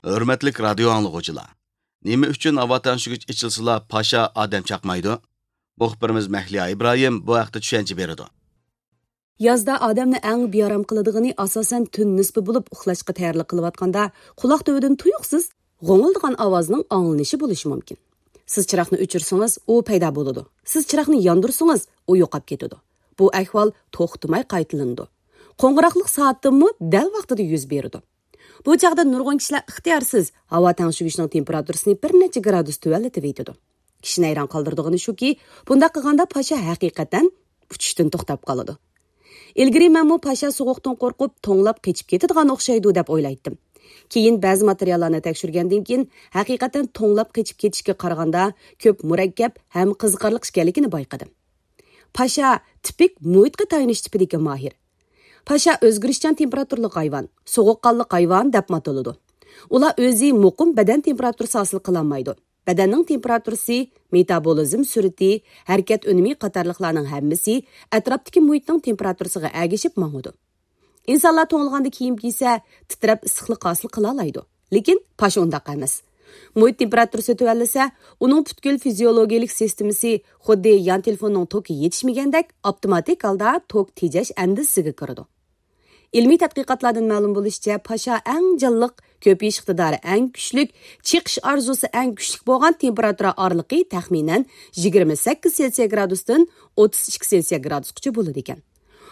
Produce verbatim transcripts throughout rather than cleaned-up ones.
ھۆرمەتلىك رادىيو ئاڭلىغۇچىلار! نېمە ئۈچۈن ھاۋا تەڭشىگۈچ ئېچىلسىلا پاشا ئادەم چاقمايدۇ؟ مۇخبىرىمىز مەھلىيا ئىبراھىم بۇ ھەقتە چۈشەنچە بېرىدۇ. يازدا ئادەمنى ئەڭ بىئارام قىلىدىغىنى ئاساسەن تۈن نىسپى بولۇپ، ئۇخلاشقا تەييارلىق قىلىۋاتقاندا قۇلاق تۈۋىدىن تۇيۇقسىز غوڭۇلدىغان ئاۋازنىڭ ئاڭلىنىشى بولۇشى مۇمكىن. سىز چىراغنى ئۆچۈرسىڭىز، ئۇ پەيدا بولىدۇ. سىز چىراغنى ياندۇرسىڭىز، ئۇ يوقاپ كېتىدۇ. بۇ ئەھۋال توختىماي قايتىلىنىدۇ. قوڭغۇراقلىق سائەتتىنمۇ دەل ۋاقتىدا يۈز بېرىدۇ. بۇ چاغدا نۇرغۇن كىشىلەر ئىختىيارسىز ھاۋا تەڭشىگۈچنىڭ تېمپېراتۇرىسىنى بىر نەچچە گرادۇس تۆۋەنلىتىۋېتىدۇ. كىشىنى ھەيران قالدۇرىدىغىنى شۇكى، بۇنداق قىلغاندا پاشا ھەقىقەتەن ئۇچۇشتىن توختاپ قالىدۇ. ئىلگىرى مەنمۇ پاشا سوغۇقتىن قورقۇپ، توڭلاپ قېچىپ كېتىدىغان ئوخشايدۇ دەپ ئويلايتتىم. كېيىن بەزى ماتېرىياللارنى تەكشۈرگەندىن كېيىن، ھەقىقەتەن توڭلاپ قېچىپ كېتىشكە قارىغاندا كۆپ مۇرەككەپ ھەم قىزىقارلىق ئىكەنلىكىنى بايقىدىم. پاشا تىپىك مۇھىتقا تايىنىش تىپىدىكى ماھىر. پاشا ئۆزگىرىشچان تېمپېراتۇرىلىق ھايۋان، سوغۇققانلىق ھايۋان دەپمۇ ئاتىلىدۇ. ئۇلار ئۆزى مۇقىم بەدەن تېمپېراتۇرىسى ھاسىل قىلالمايدۇ. بەدەننىڭ تېمپېراتۇرىسى، مېتابولىزم سۈرئىتى، ھەرىكەت ئۈنۈمى قاتارلىقلارنىڭ ھەممىسى ئەتراپتىكى مۇھىتنىڭ تېمپېراتۇرىسىغا ئەگىشىپ ماڭىدۇ. ئىنسانلار توڭلىغاندا كىيىم كىيسە، تىترەپ ئىسسىقلىق ھاسىل قىلالايدۇ. لېكىن پاشا ئۇنداق ئەمەس. مۇھىت تېمپېراتۇرىسى تۆۋەنلىسە، ئۇنىڭ پۈتكۈل فىزىيولوگىيەلىك سىستېمىسى خۇددى يان تېلېفوننىڭ توكى يېتىشمىگەندەك ئاپتوماتىك ھالدا توك تېجەش ئەندىزىسىگە كىرىدۇ. ئىلمىي تەتقىقاتلاردىن مەلۇم بولۇشىچە، پاشا ئەڭ جانلىق، كۆپىيىش ئىقتىدارى ئەڭ كۈچلۈك، چېقىش ئارزۇسى ئەڭ كۈچلۈك بولغان تېمپېراتۇرا ئارىلىقى تەخمىنەن يىگىرمە سەككىز سېلسىيە گرادۇستىن ئوتتۇز ئىككى سېلسىيە گرادۇسقىچە بولىدىكەن.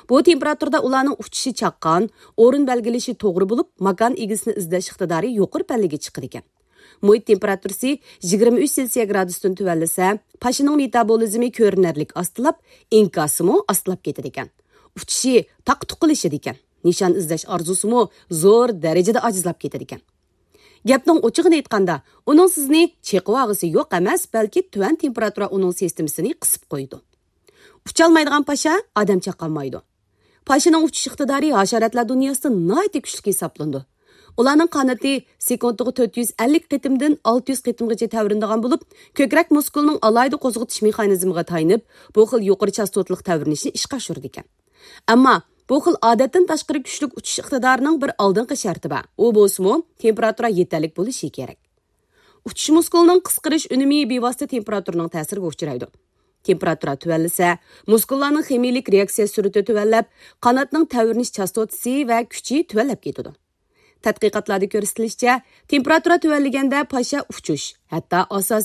بۇ تېمپېراتۇرىدا ئۇلارنىڭ ئۇچۇشى چاققان، ئورۇن بەلگىلىشى توغرا بولۇپ، ماكان ئىگىسىنى ئىزدەش ئىقتىدارى يۇقىرى پەللىگە چىقىدىكەن. مۇھىت تېمپېراتۇرىسى يىگىرمە ئۈچ سېلسىيە گرادۇستىن تۆۋەنلىسە، پاشىنىڭ مېتابولىزمى كۆرۈنەرلىك ئاستىلاپ، ئىنكاسىمۇ ئاستىلاپ كېتىدىكەن. ئۇچۇشى تاقا-تۇقىلىشىدىكەن. نىشان ئىزدەش ئارزۇسىمۇ زور دەرىجىدە ئاجىزلاپ كېتىدىكەن. گەپنىڭ ئوچۇقىنى ئېيتقاندا، ئۇنىڭ سىزنى چېقىۋالغۇسى يوق ئەمەس، بەلكى تۆۋەن تېمپېراتۇرا ئۇنىڭ سىستېمىسىنى قىسىپ قويىدۇ. ئۇچالمايدىغان پاشا ئادەم چاقالمايدۇ. پاشىنىڭ ئۇچۇش ئىقتىدارى ھاشاراتلار دۇنياسىدا ناھايىتى كۈچلۈك ھېسابلىنىدۇ. ئۇلارنىڭ قانىتى سېكۇنتىغا تۆت يۈز ئەللىك قېتىمدىن ئالتە يۈز قېتىمغىچە تەۋرىنىدىغان بولۇپ، كۆكرەك مۇسكۇلىنىڭ ئالاھىدە قوزغىتىش مېخانىزمىغا تايىنىپ، بۇ خىل يۇقىرى چاستوتىلىق تەۋرىنىشنى ئىشقا ئاشۇرىدىكەن. ئەمما بۇ خىل ئادەتتىن تاشقىرى كۈچلۈك ئۇچۇش ئىقتىدارىنىڭ بىر ئالدىنقى شەرتى بار. ئۇ بولسىمۇ، تېمپېراتۇرا يېتەرلىك بولۇشى كېرەك. ئۇچۇش مۇسكۇلىنىڭ قىسقىرىش ئۈنۈمى بىۋاسىتە تېمپېراتۇرىنىڭ تەسىرىگە ئۇچرايدۇ. تېمپېراتۇرا تۆۋەنلىسە، مۇسكۇللارنىڭ خىمىيىلىك رېئاكسىيە سۈرئىتى تۆۋەنلەپ، قاناتنىڭ تەۋرىنىش چاستوتىسى ۋە كۈچى تۆۋەنلەپ كېتىدۇ. تەتقىقاتلاردا كۆرسىتىلىشىچە، تېمپېراتۇرا تۆۋەنلىگەندە پاشا ئۇچۇش، ھەتتا ئاساسىي